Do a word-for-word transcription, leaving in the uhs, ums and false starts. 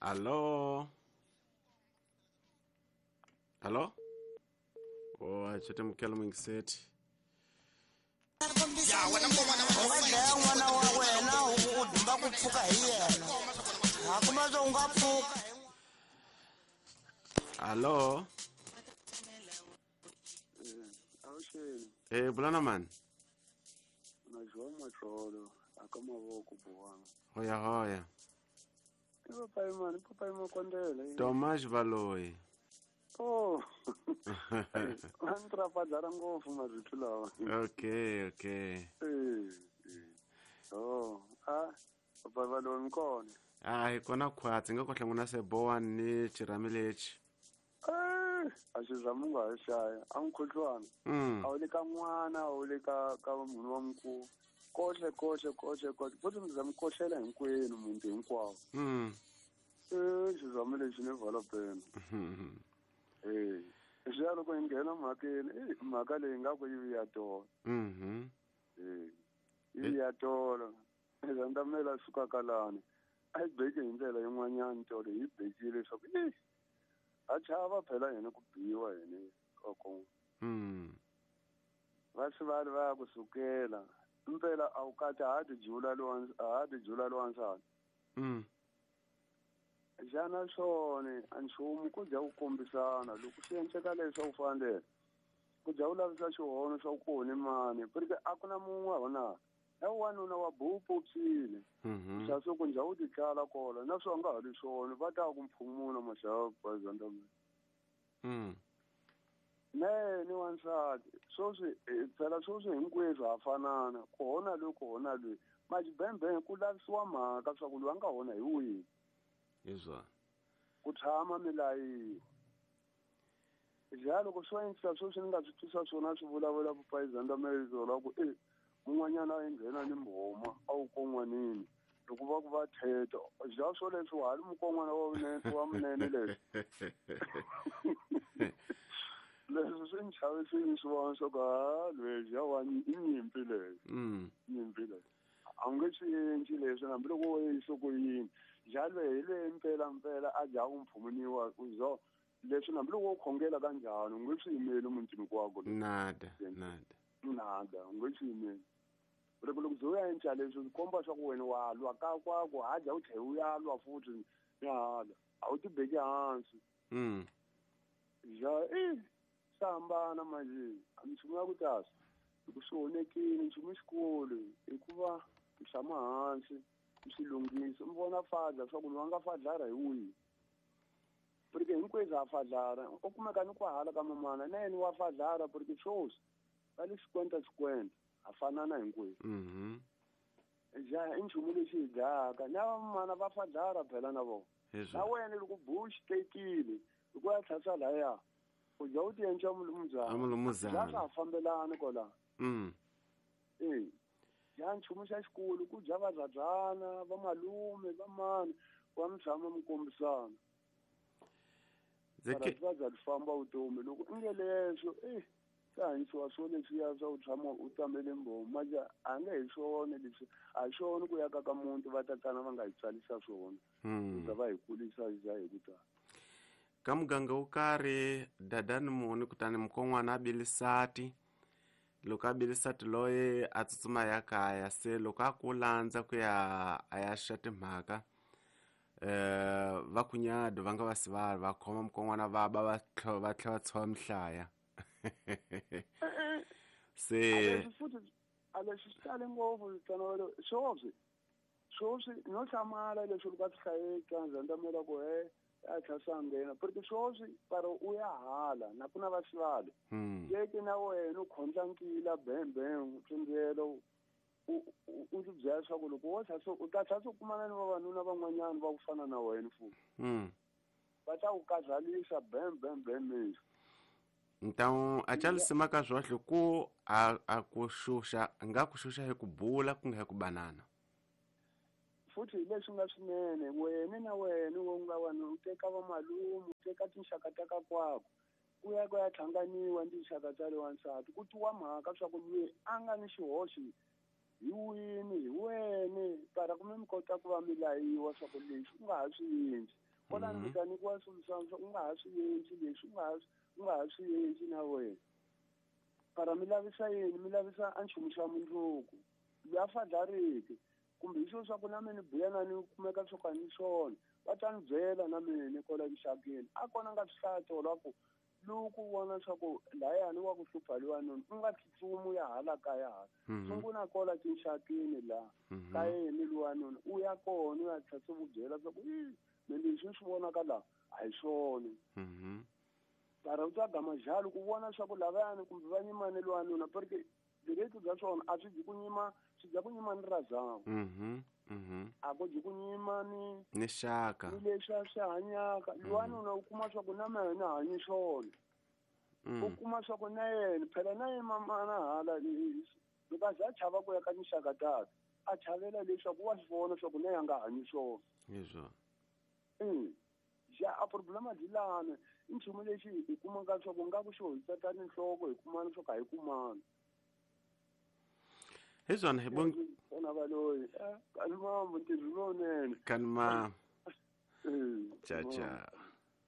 Allo. Allo? Oh, a chete mukelo mwingiseti. U nga dlaya n'wana wa wena u dumba ku pfuka hi yena a kuma swo u nga pfuka. Allo. Awuxeni. Eh, bulana man. Na joa matlolo aka mavoko buwana. Hoya hoya. I papai mani, papai Makondele. Tomas Valoyi. Oh. A ni trafadlara ngopfu marito lawa. Okay, okay. Eh. Oh, ah, papai Valoyi mi kona. Ah, hi kona khwatsi nga ko hlangana se bowan ni xirhami lexi. Eh, a xi zama u nga ha xaya, a mukhuhlwana. Mm. A wu le ka n'wana, a wu le ka ka munhu wa mukulu. Kohle kohle kohle kohle. Futhi mi za mi kohlela hinkwenu muti hinkwawo. Mm. Eh, xizama lexi ni vala pena. Eh, xi loko hi nghena mhakeni, eh, mhaka leyi nga ku yi ya tolo. Mhm. Eh, yi ya tolo. Zandamela suka kalani. A yi beke hi ndlela yin'wanyana tolo yi bekile leswaku eh a chava phela yena ku biwa yena oko. Mm. Va swi va va ku sukela. Impela a wu kati ha ti jula lowa ha ti jula lowansati. Mm. Xana swona a nchumu ku dya ku kombisana loko swi endleka leswi u fanele ku dya u lavisa xihono swa ku hone mani porque a ku na mun'we hona na wanuna wa bupu psile. Mhm. Xa swo ku njha u ti tlala kola na swo nga ha ri swona va ta ku mphumuna maxava bazanda. Mm. Ne ni wansati swoswi phela swoswi hinkweswo ha fanana ku hona loyi ku hona loyi majibembe ku lavisiwa mhaka swa ku loyi a nga hona hi wihi. Izwa. Ku tshama milayi. Ja loko swo endla swoswi ni nga swi twisa swona swi vulavula vupayizanda mezolo ku eh mun'wanyana a nghena ni mbhoma a wu kon'wanini loko va ku va theta ja swo leswi wa ha ri mukon'wana wa vunene wa munene leswi. Leswi swi ni chavisile swi vona swa ku ha lweyi ya wa i nyimpi leyi. Mm. Nyimpi leyi. A wu nge swi endli leswi hambiloko wo yisa ku yini. Ja lweyi hi lweyi mpela mpela a dya ku mphumuniwa u zo leswi hambiloko wo khongela kanjhani u nge swi yimeli mutini kwako. Nada, nada. Nada, u nge swi yimeli. Loko loko byo ya endla leswi swi komba swa ku wena wa lwa ka kwako ha dya u tlhela u ya lwa futhi ni hala a wu ti beki hansi. Mm. Ja eh swi hambana manje a minchumu ya ku tasa loko swi onhekile nchumu xikulu hikuva u tshama hansi u swi lunghisa mi vona fadla swa ku loyi a nga fadlara hi wihi porque hinkwenu ha fadlara u kumeka ni ku hala ka mamana na yena wa fadlara porque swoswi va le xikwenta xikwenta ha fanana hinkwenu. Mhm. Ja i nchumu lexi hi dlayaka na vamana va fadlara phela na vona. Na wena loko bush tekile loko ya tlhasa laya u dya u ti endla mulumuzana. A mulumuzana. Ja swa fambelana kwala. Mm. Eh. Ja nchumu xa xikulu ku dya vazadzana va malume va mani wa mi tshama mi kombisana. Zeke va za famba vutomi loko u nge leswo eh swi hanyisiwa swo leswiya swa u tshama u tamele mbhomu manje a nge hi swona leswi a hi swona ku ya ka ka muti va tatana va nga hi tswalisa swona. Mm. Va hi kulisa ja hi ku tala. Ka muganga wo karhi dadani muni kutani mukon'wana a bilisati loko a bilisati loyi a tsutsuma ya kaya se loko a ku landza ku ya a ya xa timhaka eh va kunyado va nga va sivali va khoma mukon'wana va ba va tlhela va tlhela va tshova mihlaya. Se futhi a leswi swi tale ngopfu tsanavelo swoswi swoswi no hlamala leswi loko a swi hlayeka ndzandamela ku he a tlhasa nghena porque swoswi para u ya hala na ku na va sivali. Yeke na wena u khondla nkila bembe tsundzuelo u u ti byela leswaku loko wo tlhasa u ta tlhasa u kumana ni vavanuna van'wanyana va ku fana na wena futhi. Mm. Va ta ku kazalisa bem bem bem leswi. Então a chalisima ka zwohle ku a a ku xuxa nga ku xuxa hi ku bula ku nga hi ku banana. Futhi hi leswi nga swinene wena na wena wo nga wena u teka va malume u teka tinxaka ta ka kwako ku ya ku ya hlanganiwa ni tinxaka ta le wansati ku twiwa mhaka swa ku loyi a nga ni xihoxo Hi wini hi wena para kumbe mi kota ku va mi layiwa swa ku leswi u nga ha swi endli kwalani mi ta nyikiwa solution swa u nga ha swi endli leswi u nga ha u nga ha swi endli na wena para mi lavisa yini mi lavisa a nchumu xa mundzuku loyi a fadlariki kumbe hi swilo swa ku na mina ni buya na ni kumeka swo ka ni swona va ta ni byela na mina kwala mixakeni a kona nga swi hlaya tolo ku loko u vona swa ku layani wa ku hlupha lwanuna u nga tsutsumi u ya hala kaya hala sungula kola tinxakeni laha ka yena lwanuna u ya kona u ya tlhela u byela swa ku i me leswi ni swi vonaka laha a hi swona para u ta gama njalo ku vona swa ku lavayani kumbe va nyimane lwanuna porque direito bya swona a swi dyi ku nyima swi dya ku nyima ni razangu a ku dyi ku nyima ni ni xaka ni leswi a swi hanyaka lwanuna u kuma swa ku na mina hanyi swona u kuma swa ku na yena phela na yena mamana hala loko a za a chava ku ya ka tinxaka takhe a chavela leswaku wa swi vona swa ku na ya nga hanyi swona hi swona ja a problema byi lana i nchumu lexi hi kumaka swa ku nga ku xo hi tsatani nhloko hi kumana swo ka hi kumana hi swona hi bon vona valoyi kanimambo ntirho lowunene kanima cha cha.